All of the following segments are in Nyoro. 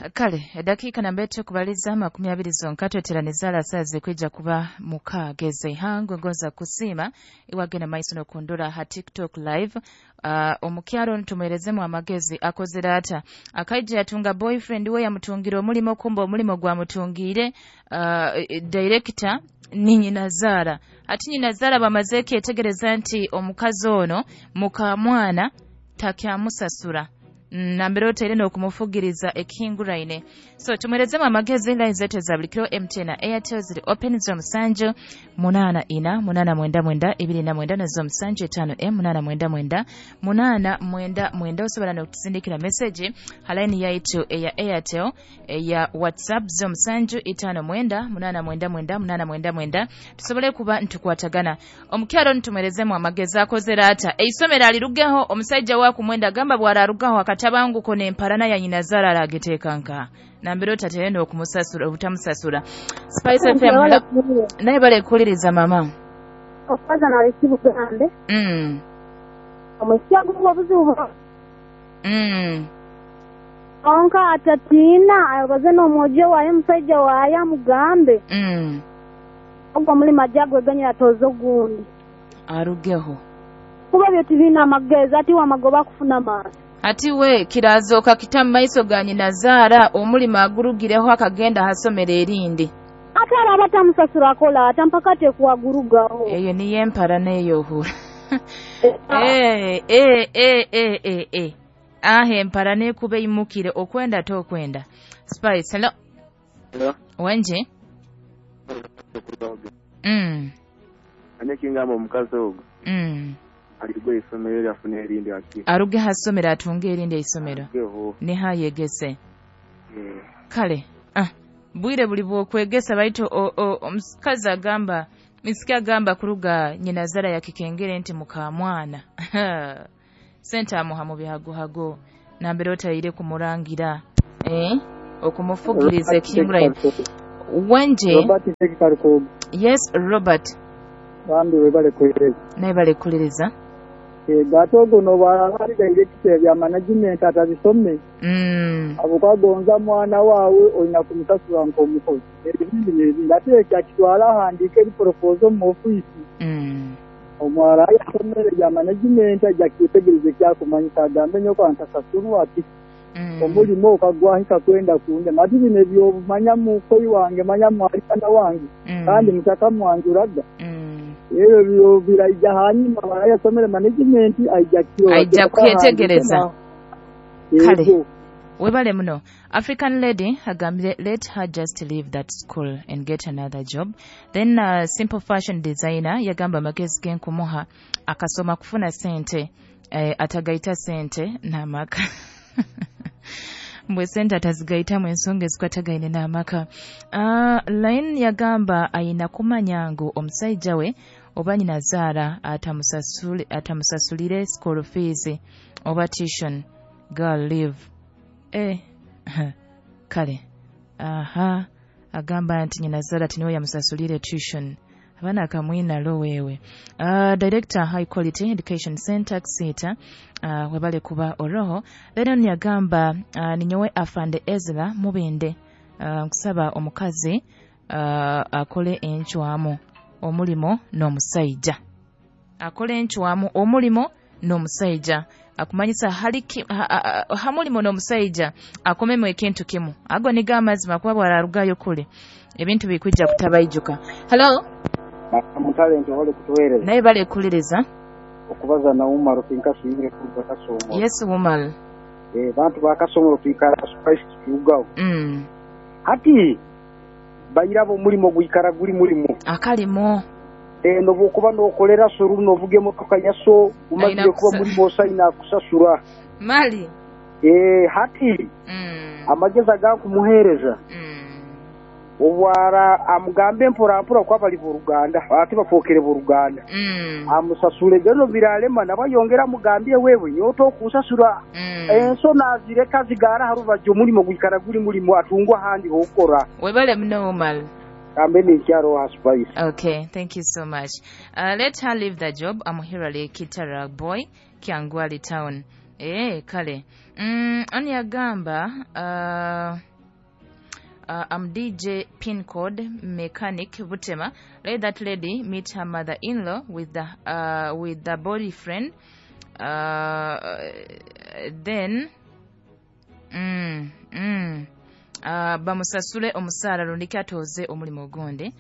Kale edakiika namba etukubaliza 20 zonka tweteraniza alasazi kwija kuba mukageze ihangwe ngoza kusiima iwagenda maiso nokundura ha TikTok live. Omukyaro ntumwerezemu amagezi akozere ata akaija yatunga boyfriend we yamutungira omulimo, kumba omulimo gwamutungire director ni nyinazaara. Ati nyinazaara bamaze kyetegereza nti omukazi ono mukamwana takyamusasura nambere otaire n'okumufugiriza ekihinguraine. So tumwerezemu amagezi. Line zetu za buli kiro MTN na Airtel ziri open 07 8 4 8 9 29 na 07 5 8 99 8 99. Osobola n'okutusindikira message ha line yaitu eya Airtel eya WhatsApp 07 5 9 8 99 8 99 tusobole kuba ntukwatagana. Omukyalo ntumwerezemu amagezi akozere ata eisomero alirugeho omusajja wakumwenda agamba bwararugaho akatabanguko n'emparana ya nyinazaara arageteeka nka nambere otaterenda okumusasura obutamusasura. Spice FM, naye balekuliriza mama okubaza nalesibugambe omusya guba obuzibu onka atatiina abaze n'omwojo waye omusajja waye amugambe ogwo omulimo ajja gweganyira atoze ogundi arugeho kuba byo tibina amagezi ati wamagoba kufuna maani. Ati we kirazoka kita mu maiso ga nyinazaara omulimo agurugireho akagenda hasomero erindi ate araba atamusasura akola ata mpaka tekuwagurugaho. Eyo niyo empara neyohura. Aha empara nekuba eyimukire okwenda tokwenda. Spice, hello. Hello. Wenje? Anye kingamba omukazi ogwo aligwe isomero lyafuna erindi aki aruge hasomero atunge erindi eisomero nihayegese. Kale bwire buli bwokwegesa baitu omukazi agamba misiki agamba kuruga nyinazara yakikengere nti mukamwana sente amuha mu bihagohago nambere otayire kumurangira okumufugiriza ekihinguraine. Wenje? Robert. Yes, Robert. Bambi webale kuhereza. Naye balekuliriza. Ate ogwo noba director bya management atabisome abukagonza mwana wawe olina kumusasura nk'omukozi ebindi n'ebindi ate ekyo akitwala ahandiika eri proposal mu ofiisi. Omwala yasomere bya management ajja kyetegereza ekyakumanyisa agambe nyoko antasasurwa ati omulimo okagwahika kwenda kundema ati bino ebyobumanya mukoyi wange manya mwalikana wange kandi mutaka mwanjuraga ebyo biraija hanyuma barayasomere management aija kyo aija kwetegereza. Kale webale muno. African lady agambire let her just leave that school and get another job. Then simple fashion designer yagamba amagezi genkumuha akasoma kufuna sente atagaita sente n'amaka mbwe sente atazigaitamu ensonga ezikwatagaine n'amaka. Line yagamba ayina kumanya ngu omusajja we oba nyinazaara atamusasulire school fees oba tuition. Girl live. Kale aha agamba nti nyinazaara tiniwe yamusasulire tuition abana akamwina lo wewe. Director High Quality Education Center Ksita webale kuba oroho. Lero yagamba ninyowe afande Ezra mubinde nkusaba omukazi akole enchwamu omulimo n'omusajja akole enchwamu omulimo n'omusajja akumanyisa hamulimo n'omusajja akomemu ekintu kimu ago niga amazima kuba bwararugayo kule ebintu bikwijja kutabaijuka. Hello. Mutalenti wale kutuwereza. Naye bale kuliriza okubaza na Umar kinkasi kuruga Kasongo. Yes Umar. Bantu ba Kasongo twikara Spice tugawo. Hati bayirabo mulimo gwikara guli mulimo akalimo nobukuba nokolera suru novuge motoka yaso umazire kuba mulimo osaina kusasura mali hati amagezi agakumuhereza obwara amugambe mpora mpora kwa bali buruganda ati bafokere buruganda amusasule gano biralema nabayongera mugambye wewe nyoto kusasura enso nazireka zigara harubaje mulimo gwikara guli mulimo atungwa handi hokora webale mno Umar. Kambeni nkyaro ha Spice. Okay, thank you so much. Let her leave the job. I'm Hirale Kitara boy Kyangwali town. Kale. Ani agamba I'm DJ pin code mechanic Butema. Let that lady meet her mother-in-law with the boyfriend. Then bamusasule omusara rundiki atoze omulimo ogundi.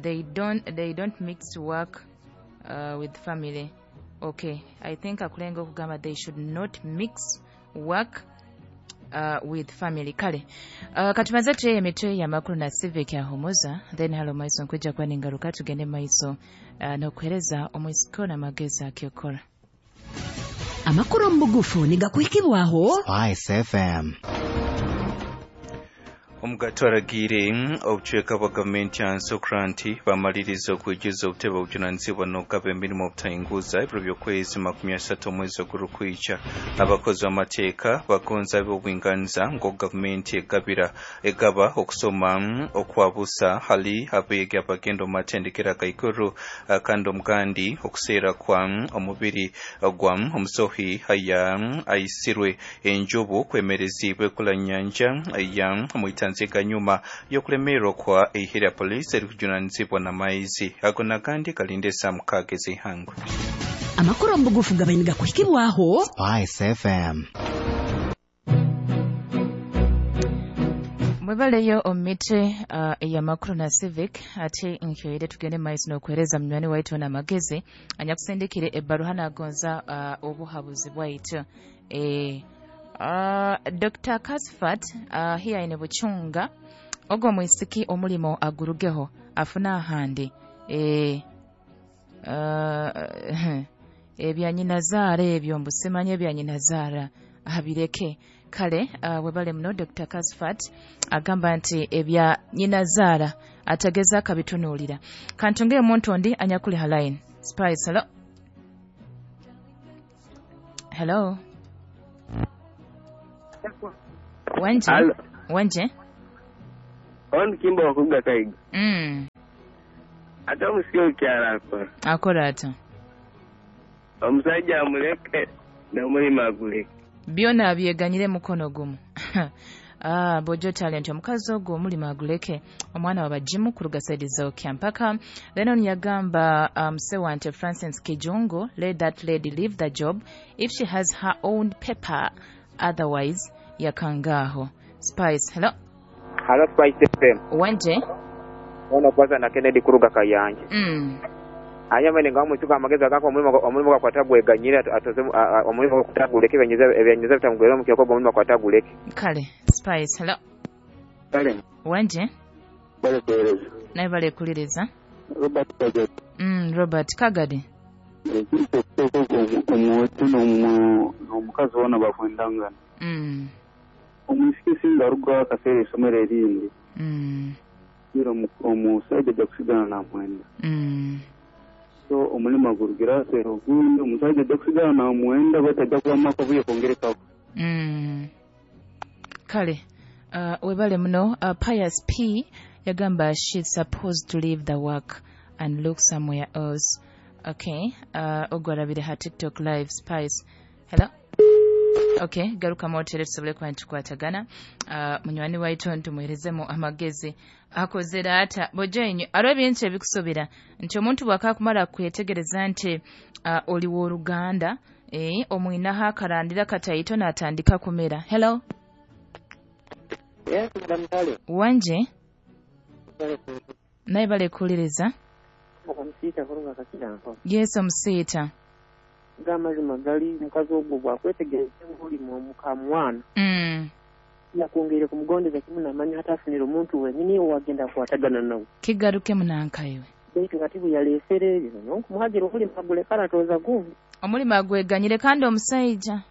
They don't mix work with family. Okay, I think akulenga okugamba they should not mix work with family. Kale katumaze tuye emitwe y'amakuru na civic ya Homoza, then halo maiso nkwija kwa ningaruka tugende maiso n'okuhereza omwisiko n'amagezi akyokora. Amakuru mubugufu nigakuhikibwaho Spice FM. Omugatwaragire obucweka bwa gavumenti ya Nsokranti bamaliriza okwijuza obutebe obujunanizibwa n'okugaba emirimu obutayinguza ebiro by'okwezi 30 omwezi ogurukwica. Abakozi b'amateeka bagonza ab'obwinganiza ngo gavumenti egaba okusoma okwabusa hali abeegi abagenda omu matendekero agaiguru, kandi omugandi okuseera kwa omubiri gwa omusohi aya aisirwe enjubu kwemerezibwe kula nyanja ya muitanzi ganyuma yokulemerwa kwa ihira polisi erikujunanizibwa na maizi ago nagandi kalinde samukage zihangwe. Amakuru mbugufu gabainiga kuhikibwaho Spice FM. Mwebaleyo omite ya makuru na civic ate nkyoyere tugende maiso n'okuhereza munywani waitu n'amagezi anyakusindikire ebbaruha nagonza obuhabuzi bwaitu. Dr. Kasfat hiya ine Buchunga ogo mwisiki omulimo agurugeho afuna ahandi ebya nyina zaara ebyo mbusimanye ebya nyina zaara abireke. Kale webale muno Dr. Kasfat agamba nti ebya nyina zaara atageza akabitunuulira. Kantunge omuntu ondi anyakuli halaini. Spice, hello. Hello. Wanje. Wanje. On kimbo wakuga kaiga. Ata musio kyara akora. Akora ata. Omusajja amuleke na mulima aguleke. Byona abyeganyire mukono gumu. Bojo talent omukazi ogwo omulima aguleke omwana wabajimu kuruga saidi za Kyampaka. Then yagamba Sewante Francis Kijungu, let that lady leave the job if she has her own paper, otherwise yakangaho. Spice, hello. Hello Spice FM. Wanje. Ono kwanza na Kennedy kuruga Kayanja. Anyama nga omusuka amagezi agako omulimo gwakwatagweganyira atoze omulimo gwakutaguleke ebyanyiza bitamugwera mu kyako omulimo gwataguleke. Kale Spice, hello. Kale. Wanje. Bale kueleza. Naye bale kuliriza. Robert Kagadi. Robert Kagadi. Omuwetu n'omukazi wona bakwendangana. Omusiki singa aruga akaseera essomero erindi. Era omusajja ajja kusigala namwenda. So omulimo gurugira aseera ogundi omusajja ajja kusigala namwenda batajja kubamako buye kwongerekako. Kale webale muno. Pius P yagamba she's supposed to leave the work and look somewhere else. Okay, ogwarabire ha TikTok live. Spice, hello. Okay, garuka motere tusobole kuba nitukwatagana. Munywani waitu ntumuherezemu amagezi akozera ata bojenyu aro ebintu ebikusobera nti omuntu bwakakumara kwetegereza nti oli w'oluganda omwinaho akarandira kataito n'atandika kumera. Hello. Yes, Madam Kale. Wanje. Naye bale kuliriza. Omusita kuruga Kakiranko. Yes, omusita. Gamazima gali mukazi ogwo bwakwetegereza omulimu omukamwana. Yakwongere kumugondeza kimu namanya hatafunira omuntu wenyini owagenda kukwatagana nawe. Kigaruke munankayiwe. Baitu kati bwe yaleesere ebyo n'okumuhagira omulimu aguleka aratoza gundi. Omulimu agweganyire kandi omusajja.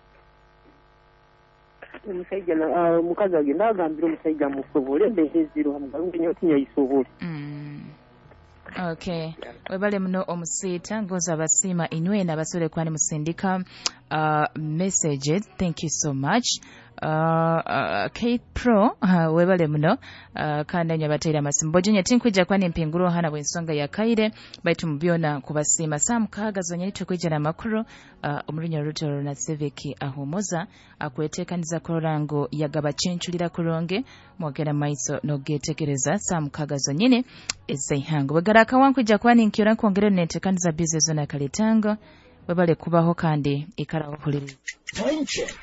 Omusajja omukazi agenda agambira omusajja amusobole embeera eziro amugalungi nnyo tinyayisobole. Okay. Webale muno omusita ngoza abasiima inywena abasobole kuba nimusindika Messages, thank you so much. Kate Pro, webale muno, kandi anya bateera amasimu bojinya tinkwija kuba nimpingura hana bw'ensonga ya kaire, baitu mubyona kubasiima. Saa 6 zonyini tukwija n'amakuru omurunya rutoro na Civic ahumuza akwetekaniza kurora ngu yagaba chenchulira kurungi mwogera maiso nogetegereza saa 6 zonyini ezaihango bwegaraka wankwija kuba ninkyora nkwongere nentekaniza bize zona kalitango. Webale kubaho kandi ikara uhuliri. Time check.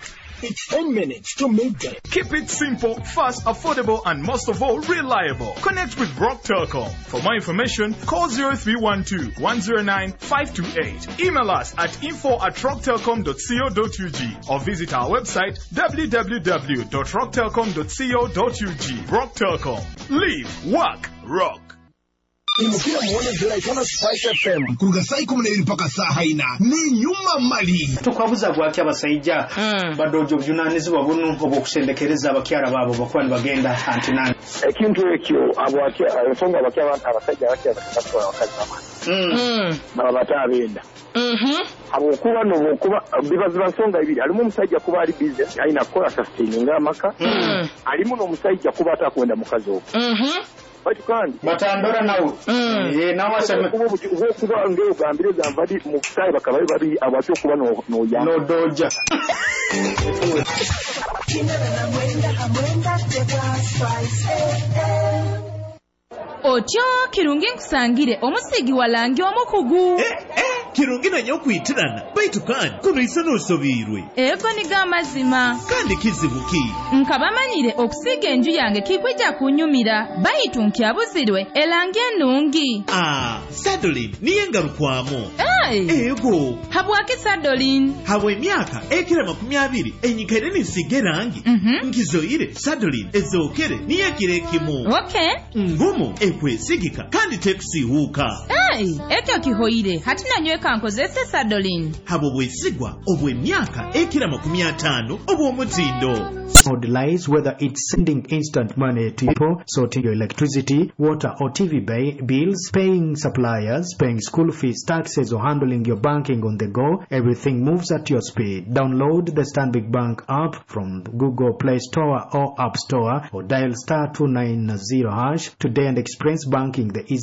It's 10 minutes to midday. Keep it simple, fast, affordable, and most of all, reliable. Connect with Rock Telcom. For more information, call 0312 109 528. Email us at info@rocktelcom.co.ug or visit our website www.rocktelcom.co.ug. Rock Telcom. Live, work, rock. Imukira muone ziraitana Spice FM kuruga saa 12 mpaka saa 4 ni nyuma mali. Tukwabuza gwaki abasaija badojo obujunanizibwa bunu obwokusendekereza abakyara babo bakuba nibagenda antinani. Ekintu ekyo ensonga abasajja abakyara batwara abakazi bamani baba benda. Habwokuba nobwokuba biba nsonga ibiri, alimu omusajja kuba ali busy alina kukola sustaining amaka, alimu n'omusajja kuba atakwenda mukazi ogwo. Baitu kandi batandora nawe nawe aseme kuba ngero gambire gambadi mu kutayi bakaba bari abatyo kuba no ya no doja. Otyo kirungi nkusangire omusigi walangi omukugu. Kirungi nanyo okwitirana baitu kandi kuno isa n'osobirwe. Ego niga amazima. Kandi kizibu ki? Nkabamanyire okusiga enju yange kikwija kunyumira baitu nkyabuzirwe elangi ennungi. Sadolin niye ngarukwamu. Ego. Habwaki Sadolin? Habwe emyaka ekira 20 enyikaire ninsiga erangi. Nkizoire Sadolin ezokere niye ekiro ekimu. Okay. Ngumu ekwesigika kandi tekusiihuuka. Ekyo kihoire hati nanyweka nkozese Sadolin. Habo bwesigwa obw'emyaka ekira 50 obw'omutindo. No delays, whether it's sending instant money to people, sorting your electricity, water or TV bills, paying suppliers, paying school fees, taxes, or handling your banking on the go, everything moves at your speed. Download the Stanbic Bank app from Google Play Store or App Store, or dial *290# today and experience banking the easy